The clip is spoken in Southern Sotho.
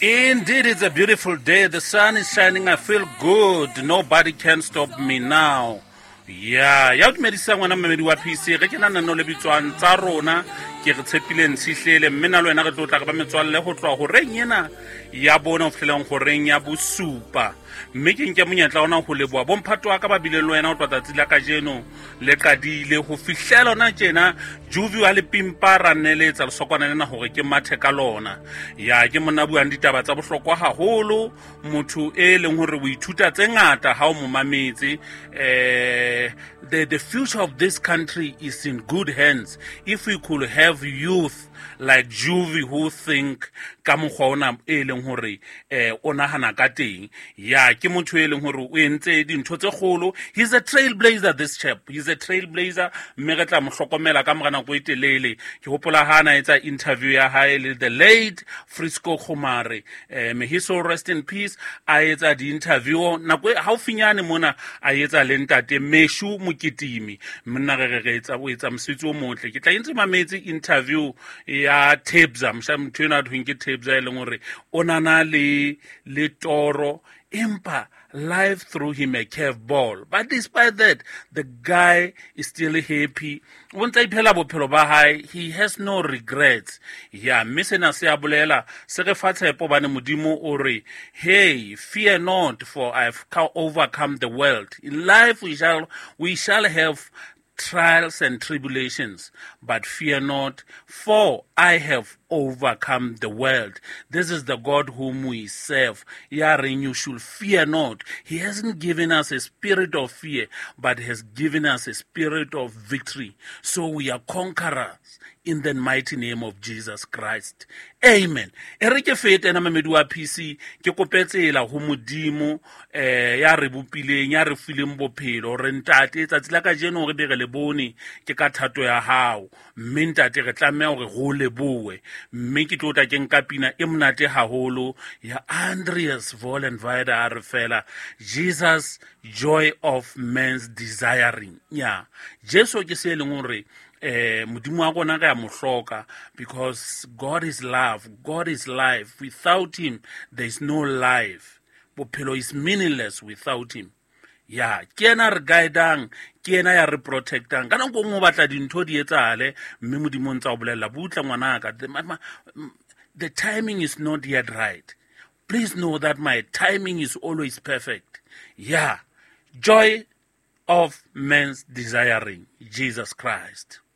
Indeed, it's a beautiful day. The sun is shining. I feel good. Nobody can stop me now. Ya ya o dumedisa ngwana mmamedi wa PC re ke na nano le bitswang tsa rona ke re tshepile ntshihlele mme na le wena re tlo tla re ba metswalle go tloa goreng ena ya bone go fitlheleng goreng ya bosupa. Mme ke nke monyetla ona go leboa bomphato wa ka ba bileng le wena go tloa tsatsi la kajeno le qadile go fihlela ona tjena. Juvi wa lepimpa ra nneletsa lesokwana lena gore ke mathe ka lona. Ya ke monna buang ditaba tsa bohlokwa haholo, motho e leng hore o ithuta tse ngata ha o mo mametse. The future of this country is in good hands if we could have youth like Juvi who think ka mokgwa ona e leng hore o nahana ka teng. Ya ke motho e leng hore o entse dintho tse kgolo. He's a trailblazer, this chap. He's a trailblazer, mme re tla mo hlokomela ka mora nako e telele. Ke hopola ha na etsa interview ya hae le the late Frisco Khumare, may he so rest in peace. A etsa di-interview nako e haufinyane mona, a etsa le ntate Meshu Mokitimi. Monna re re etsa o etsa mosebetsi o motle. Ke tla entse mametse interview ya Tebza, mosha motho enwa a thweng ke Tebza, e leng hore o nana le toro, empa life threw him a curve ball, but despite that the guy is still happy. O ntse a iphela bophelo ba hae, he has no regrets. Ya mme sena se a bolela se re fa tshepo bane Modimo o re, hey, fear not, for I've overcome the world. In life we shall have trials and tribulations, but fear not, for I have overcome the world. This is the God whom we serve. Yaring, you should fear not. He hasn't given us a spirit of fear, but has given us a spirit of victory. So we are conquerors in the mighty name of Jesus Christ. Amen. E re ke fete ena mamedi wa PC ke kope tsela ho Modimo ya re bopileng, ya re fileng bophelo, re ntate tsatsi la kajeno re be re le bone ke ka thato ya hao, mme ntate re tlameha hore re o lebohe. Mme ke tlo tla ke nka pina e monate haholo ya Andreas Vollenweider, a re fela Jesus, joy of man's desiring. Ya Jesu ke se e leng hore Modimo wa rona re a mo hloka, because God is love, God is life. Without him there is no life. Bophelo is meaningless without him. Ya ke yena re guidang, ke yena ya re protectang. Ka nako nngwe o batla dintho di etsahale, mme Modimo o ntse a o bolella, butla ngwanaka, the timing is not yet right. Please know that my timing is always perfect. Yeah, joy of man's desiring, Jesus Christ.